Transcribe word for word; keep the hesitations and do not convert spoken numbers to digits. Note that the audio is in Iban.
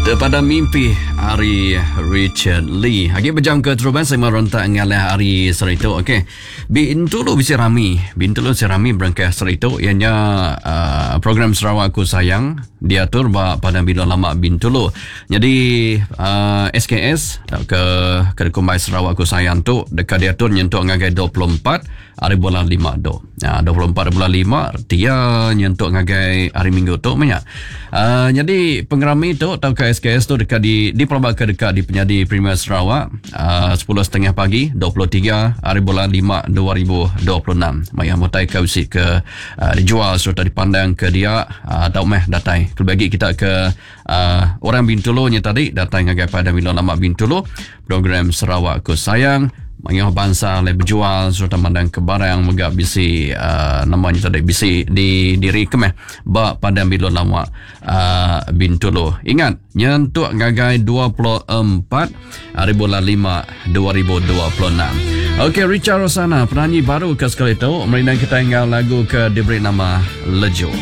Terpadam Mimpi ari Richard Lee. Agi bejam ke terubah saya merentak ngalah ari sehari tu. Okey. Bintulu bisi rami. Bintulu bisi rami berengkah sehari tu ianya uh, program Sarawak Aku Sayang diatur ba Padang Bilun Lama Bintulu. Jadi uh, S K S ke ke kumbai Sarawak Aku Sayang tu dekat diatur nyentuk ngagai dua puluh empat hari bulan lima tu. Ya, dua puluh empat hari bulan lima dia nyentuk ngagai hari Minggu tu banyak. Uh, jadi pengerami tu atau ke S K S tu dekat di di ke dekat di Penyadi Premier Sarawak uh, sepuluh tiga puluh pagi dua puluh tiga hari bulan lima dua ribu dua puluh enam. Maya mutai ke usi ke uh, dijual serta dipandang ke dia uh, atau meh datai. Bagi kita ke uh, orang Bintulu nya tadi datang ngagai Padang Bilun Lama Bintulu, program Sarawak Ku Sayang, mayuh bangsa le berjual serta mandang ke barang mega bisi uh, namanya tadi bisi di diri kemeh ba Padang Bilun Lama uh, Bintulu. Ingat, nyentuk ngagai dua puluh empat hari bulan lima dua ribu dua puluh enam. Okey, Richard Rosana, penyanyi baru ke sekali tu merindang kita enggau lagu ke diberi nama Lejo.